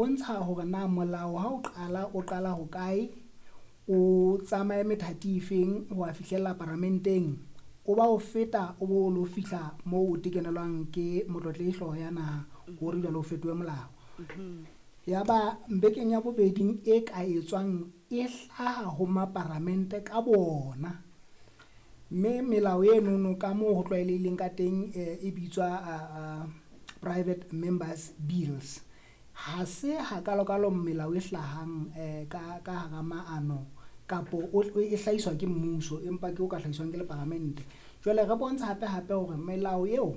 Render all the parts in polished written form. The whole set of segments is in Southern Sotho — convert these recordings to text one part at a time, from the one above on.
bontsha hore na molao ha o qala o qala hokae, o tsamaye methati e feng ho a fihlella paramenteng, o ba o feta o bo lo fihla moo o tekenelwang ke motlotlehi hlooho ya naha hore jwale o fetohe molao. Ya ba bekeng ya bobeding e ka etswang e hlaha ho maparamente ka bona. Mme melao enono ka moo ho tlwaelehileng ka teng e bitswa private members bills. Ha se hakalokalo melao e hlahang ka hara maano kapo e hlahiswa ke mmuso, empa ke o ka hlahiswang ke le paramente. Jwale re bontsha hape hape hore melao eo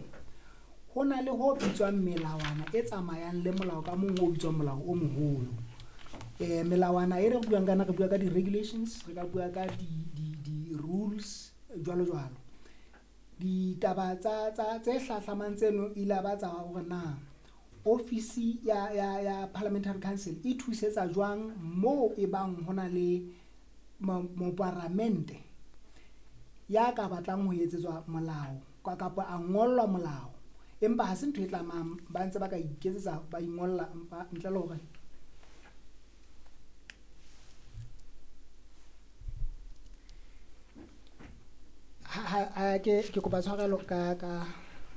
ho na le ho bitswang melawana e tsamayang le molao ka mong o bitswang molao o moholo. Melawana e re buang ka yona, re bua ka di-regulations, re ka bua ka di-rules jwalo jwalo. Ditaba tsa tse hlahlamang tseno ile ba tsa hore na ofisi ya Parliamentary Council e thusetsa jwang moo e bang ho na le moparamente ya ka batlang ho etsetswa molao kapa a ngollwa molao, empa ha se ntho e tlamang, ba ntse ba ka iketsetsa ba ingolla empa ntle le hore ha ke kopa tshwarelo ka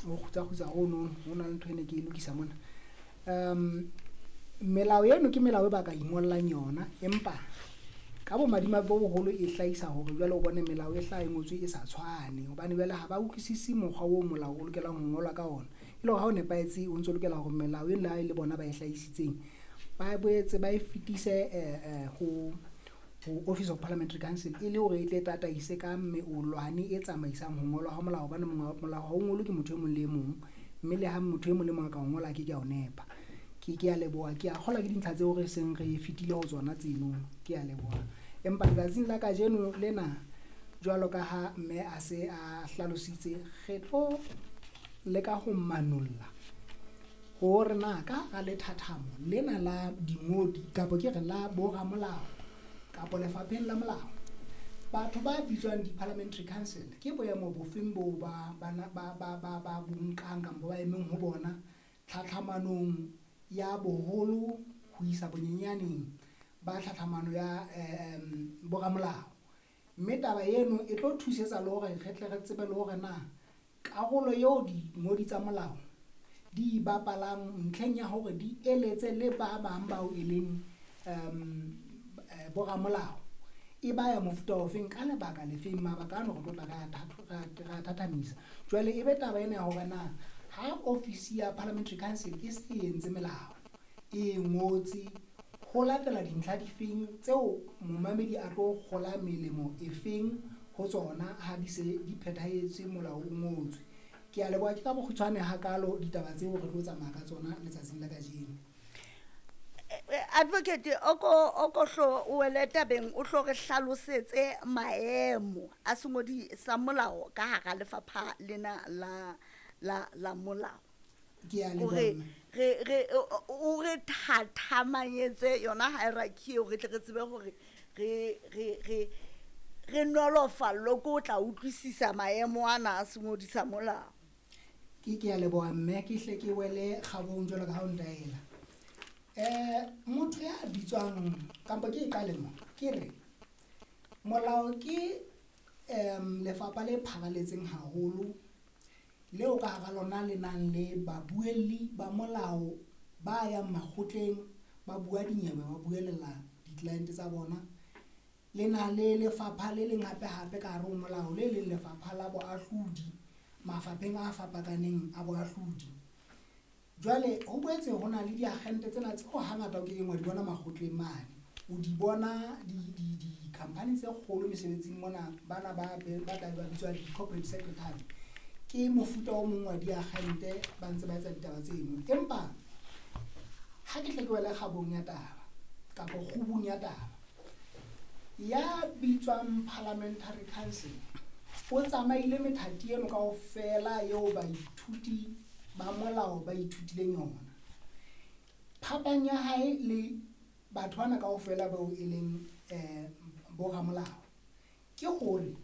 ho kgutsa hono ho na le ntho e ne ke e lokisa mona. Melao eno ke melao e ba ka ingollang yona, empa ka bomadimabe bo boholo e hlahisa hore jwale o bone melao e hlaha e ngotswe e sa tshwane, hobane jwale ha ba utlwisisi mokgwa oo molao o lokelang ho ngolwa ka ona. E le hore ha o nepahetse o ntso lokela hore melao eno le ha e le bona ba e hlahisitseng, ba boetse ba e fetise ho Office of Parliamentary Council e le hore e tle tataise ka meolwane e tsamaisang ho ngolwa ha molao, hobane molao ha o ngolwe ke motho e mong le e mong, mme le ha motho e mong le mong a ka o ngola a ke ke a o nepa. Ke a leboha, ke a kgolwa ke dintlha tseo re seng re fetile ho tsona tseno, ke a leboha. Empa letsatsing la kajeno lena jwalo ka ha mme a se a hlalositse, re tlo leka ho manolla hore na ka hara lethathamo lena la dingodi kapa ke re la boramolao kapa lefapheng la molao, batho ba bitswang di-Parliamentary Council ke boemo bofeng boo ba bo nkang kampo ba emeng ho bona tlhatlhamanong ya boholo ho isa bonyenyaneng ba tlhatlhamano ya boramolao. Mme taba eno e tlo thusetsa le hore re tle re tsebe le hore na karolo eo dingodi tsa molao di bapalang ntlheng ya hore di eletse le ba bang bao e leng boramolao e ba ya mofuta ofeng ka lebaka lefeng. Mabaka ano re tlo tla re a thathamisa. Jwale e be taba ena ya hore na ha ofisi ya Parliamentary Council e se e entse melao, e ngotse ho latela dintlha difeng tseo momamedi a tlo kgola melemo efeng ho tsona ha di se di phethahetse molao o ngotswe. Ke a leboha, ke ka bokgutshwane hakalo ditaba tseo re tlo tsamaya ka tsona letsatsing la kajeno. Advocate, oko hlo o wele tabeng, o hlo re hlalosetse maemo a sengodi sa molao ka hara lefapha lena la molao. Ke a leboha. Hore re o re thathamanyetse yona hierarchy eo, re tle re tsebe hore re nolofallwe ke o tla utlwisisa maemo ana a sengodi sa molao. Ke a leboha mme, ke hle ke wele kgabong jwalo ka ha o ntaela. Motho ya bitswang kampo ke e qale mo, ke re molao ke lefapha le pharaletseng haholo leo ka hara lona le nang le babuelli ba molao ba yang makgotleng, ba bua dinyewe, ba buelela di-client tsa bona. Le na le lefapha le leng hape hape ka hare ho molao, le leng lefapha la boahlodi mafapheng a fapakaneng a boahlodi. Jwale ho boetse ho na le diagente tsena tseo hangata o kekeng wa di bona makgotleng mane. O di bona di-company tse kgolo mesebetsing mona, bana ba tla be ba bitswa di-corporate secretary. Ke mofuta o mong wa diagente ba ntse ba etsa ditaba tseno. Empa ha ke tle ke wele kgabong ya taba kapa kgubung ya taba, ya bitswang Parliamentary Council o tsamaile methati eno kaofela eo baithuti ba molao ba ithutileng yona. Phapang ya hae le batho bana kaofela bao e leng boramolao ke hore